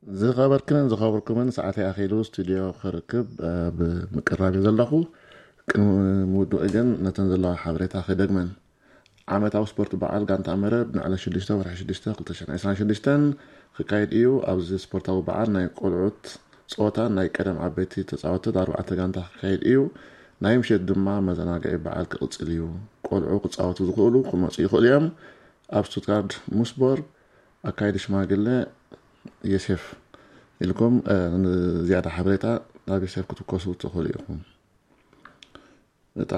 ዝኸበርክንን ዝኸበርኩምን፣ ሰዓተይ ኣኺሉ ስቱድዮ ክርክብ ኣብ ምቅራብ እየ ዘለኹ። ቅድሚ ምውድኡ ግን ነተን ዘለዋ ሓበሬታ ክደግመን። ዓመታዊ ስፖርት በዓል ጋንታ መረብ ንዕለት ሽዱሽተ ወርሒ ሽዱሽተ ክልተ ሽሕን ዕስራን ሽዱሽተን ክካየድ እዩ። ኣብዚ ስፖርታዊ በዓል ናይ ቆልዑት ጸወታን ናይ ቀደም ዓበይቲ ተጻወትቲ ኣርባዕተ ጋንታ ክካየድ እዩ። ናይ ምሸት ድማ መዘናግዒ በዓል ክቕጽል እዩ። ቆልዑ ክጻወቱ ዝኽእሉ ክመጹ ይኽእሉ እዮም። ኣብ ስቱትጋርድ ሙስቦር ኣካይዲ ሽማግለ የሴፍ ኢልኩም፣ እ፣ ንዝያዳ ሓበሬታ ናብ የሴፍ ክትውከሱ ትኽእሉ ኢኹም። እታ